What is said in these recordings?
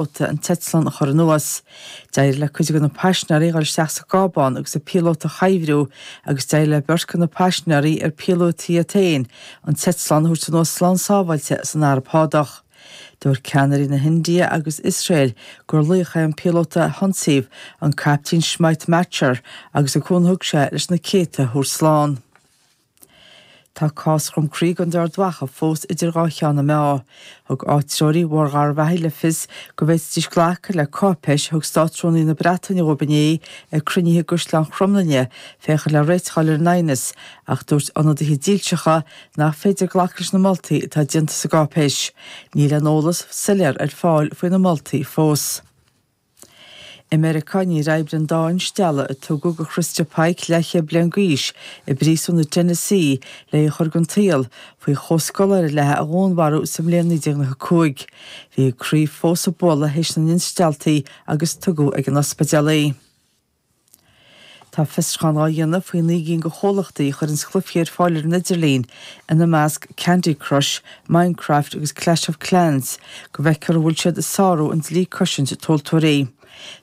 Píolóta an t-eitleán a chur anuas. D'éirigh le cuid de na paisinéirí dhul isteach sa gcábán agus an píolóta a chuibhriú agus d'éirigh le beirt de na paisinéirí, ar píolótaí iad féin, an t-eitleán a thabhairt anuas slán sábháilte san Araib Shádach. Dúirt ceannairí na hIndia agus Iosrael gur laoch é an píolóta a hionsaíodh, an Caiptín Smit Machar, agus an cúnamh a thug sé leis na céadta a thabhairt slán. Tá cás Dhrom Crí i gContae Ard Mhacha fós idir dhá cheann na meá. Thug áitritheoirí Bharr Gharbhachaidh le fios go bhféadfaidís glacadh le cáipéis a thug Státrúnaí na Breataine dhóibh inné ag cruinnithe i gCaisleán Chromghlinne féachaint le réiteach a fháil ar an aighneas ach dúirt ionadaithe dílseacha nach féidir glacadh leis na moltaí atá déanta sa gcáipéis. Níl aon eolas soiléir ar fáil faoi na moltaí fós. I Meiriceá, níor oibrigh an dá instealladh a tugadh do Christa Pike, leathchéad bliain d'aois, i bpríosún i dTennessee le í a chur den tsaol, faoi chomhscoláire léi a dhúnmharú sa mbliain 1995. Bhí a croí fós ag bualadh théis na n-instealltaí agus tugadh ag an ospidéal í. Tá fiosrúchán á dhéanamh faoi 9 gcinn de chomhlachtaí a chuireanns cluichí ar fáil ar an idirlíon, ina measc Candy Crush, Minecraft agus Clash of Clans, go bhfeicfear an bhfuil siad ag sárú an dlí cosaint tomhaltóirí.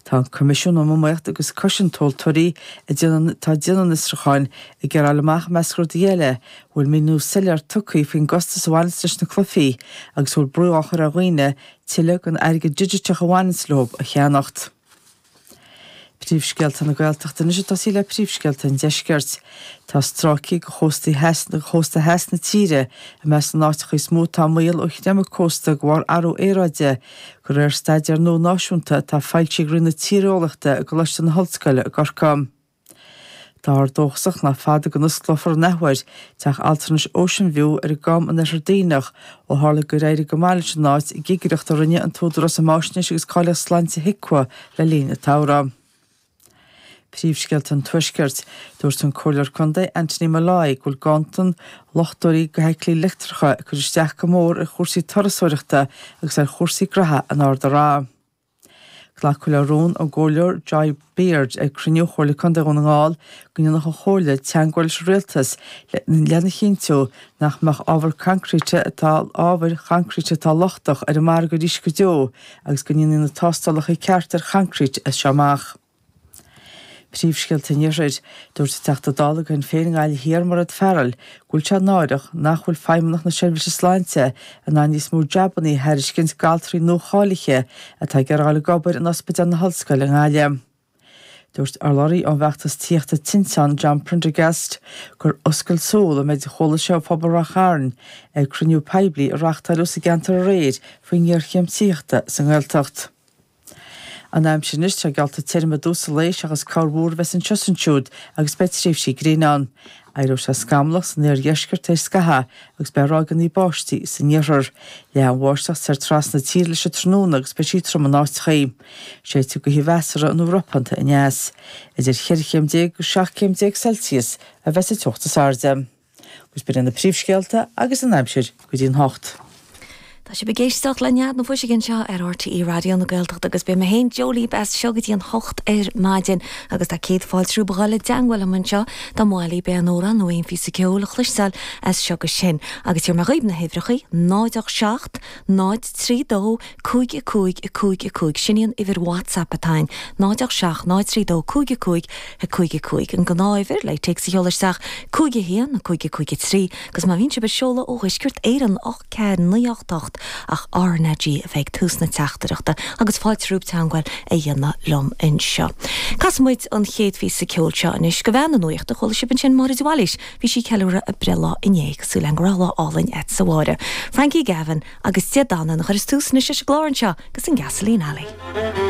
Tá an Coimisiún um Iomaíocht agus Cosaint Tomhaltóirí, atá ag déanamh an fhiosrúcháin, ag iarraidh a fháil amach, i measc rudaí eile, an bhfuil míniú soiléir tugtha faoin gcostas a bhaineanns leis na cluichí agus an bhfuil brú á chur ar dhaoine tuilleadh den airgead digiteach a bhaineanns leo a cheannacht. Príomhscéalta na Gaeltachta anois ag tosaí le príomhscéalta an Deiscirt. Tá stráicí de chósta chósta theas na tíre i measc na n-áiteacha is mó atá i mbaol ó chreimeadh cósta de bharr athrú aeráide, de réir staidéar nua náisiúnta atá foilsithe ag Roinn na Tíreolaíochta i gColáiste na hOllscoile i gCorcaigh. Táthar dóchasach nach fada go n-osclófar an athuair teach altranais Ocean View ar an gCam in Oirthear Duibhneach ó tharla gur éirigh go maith leis an áit i gcigireacht a rinne an tÚdarás um Fháisnéis agus Cáilíocht Sláinte HIQA le linn an tsamhraidh. Príomhscéalta an Tuaiscirt. Dúirt an Comhairleoir Contae Anthony Molloy go bhfuil ganntan luchtóirí do fheithiclí leictreacha ag cur isteach go mór ar chúrsaí turasóireachta agus ar chúrsaí graithe in Ard an Rátha. Glacadh le rún ón gComhairleoir Joy Beard ag cruinniú Chomhairle Contae Dhún na nGall go ndéanfadh an Chomhairle teagmháil leis an Rialtas lena chinntiú nach mbeadh ábhar coincreíte atá ábhair choincreíte atá lochtach ar an margadh arís go deo agus go ndéanfaí na tástálacha cearta ar choincreít as seo amach. Príomhscéalta an Iarthair. Dúirt an Teachta Dála do Shinn Féin i nGaillimh Thiar, Mairéad Farrell, go bhfuil sé náireach nach bhfuil Feidhmeannacht na Seirbhíse Sláinte in ann níos mó jabannaí a thairiscint d'altraí nuacháilithe atá ag iarraidh a dhul ag obair in Ospidéal na hOllscoile i nGaillimh. Dúirt urlabhraí ón bhfeachtas tithíochta Tinteán, John Prendergast, gur oscailt súl an méid a chuala sé ó phobal Rath Chairn ag cruinniú poiblí a reáchtáileadh sa gceantar aréir faoin ngéarchéim tithíochta sa nGaeltacht. An aimsir anois, tá geallta tirim i dtús an lae seachas corrmhúr a bheas anseo is ansiúd agus beidh tréimhsí gréine ann. Éireoidh sé scamallach san oirdheisceart tar éis scathaimh agus beidh ráigeanna báistí san iarthar. Leathfaidh an bháisteach soir trasna na tíre leis an tráthnóna agus beidh sí trom in áiteachaí. Séidfidh gaoth mheasartha nó ropánta aneas. Idir cheithre chéim déag agus 17 céim Celsius a bheas an teocht is airde. Agus b'in iad na príomhscéalta agus an aimsir go dtí an hocht. Tá sibh ag éisteacht le Nead na Fuiseoige anseo ar RTÉ Raidió na Gaeltachta agus beidh mé féin, Joe libh as seo go dtí an hocht ar maidin agus tá céad fáilte romhaibh a dhul i dteangmháil liom anseo dá mba mhaith libh aon amhrán nó aon phíosa ceoil a chloisteáil as seo go sin agus tabharfaidh mé dhaoibh na huimhreacha 0 8 7 0 3 2 5 5 5 5, sin í an uimhir WhatsApp atá ann, 0 8 7 0 3 2 5 5 5 5. An gnáth-uimhir le téacs a sheoladh isteach, 5 1 5 5 3, agus má bhíonn sibh ag seoladh ó Dheisceart Éireann, 8 4 9 8 8, ach RnaG a bheidh ag tús na teachtaireachta agus fáilte romhaibh teangmháil a dhéanamh liom anseo. Casfaidh muid an chéad phíosa ceoil seo anois go bhean na nuachta, chuala sibh ansin Máire de Bhailís, bhí sí ag ceiliúradh a breithlá inné, súil agam go raibh lá álainn agat a Mháire. Frankie Gavin. Agus Dé Danann a chuireas tús anois leis an gclár anseo agus an Gasoline Alley.